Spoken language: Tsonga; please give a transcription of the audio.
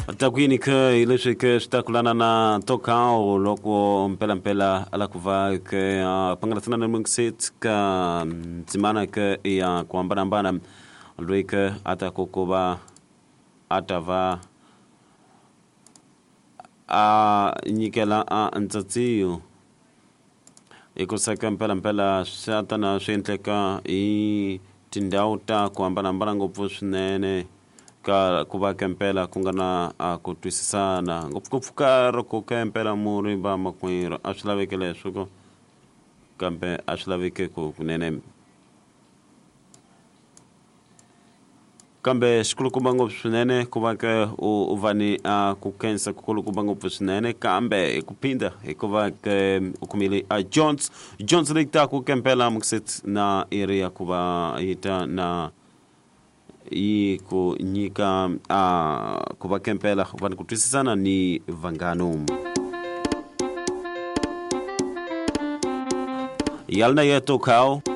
Takwini ke hi leswi ke swi ta kulana na Tokao loko mpelampela a la ku va ke a pangalasana na Mungsit ka ndzimana ke ya ku hambanahambana loyi ke a ta ku ku va a ta va a nyikela a ntsatsiyo hikusa ka mpelampela swa ta na swi endleka hi tindhawu ta ku hambanahambana ngopfu swinene ka ku va kempela ku nga na a ku twisisana ngopfungopfu ka loko kempela mu ri va makwerhu a swi laveki leswo ko kambe a swi laveki ku kunene Kambe xikulukumba ngopfu swinene ku va ke u va ni a ku khensa kukulukumba ngopfu swinene kambe hi ku phinda hikuva ke u kumile a Jones Jones leyi taku kempela mukset na iri ya ku va yi ta na yi ku nyika a ku va kempela u va ni ku twisisana ni vanghano yalna yeto khao.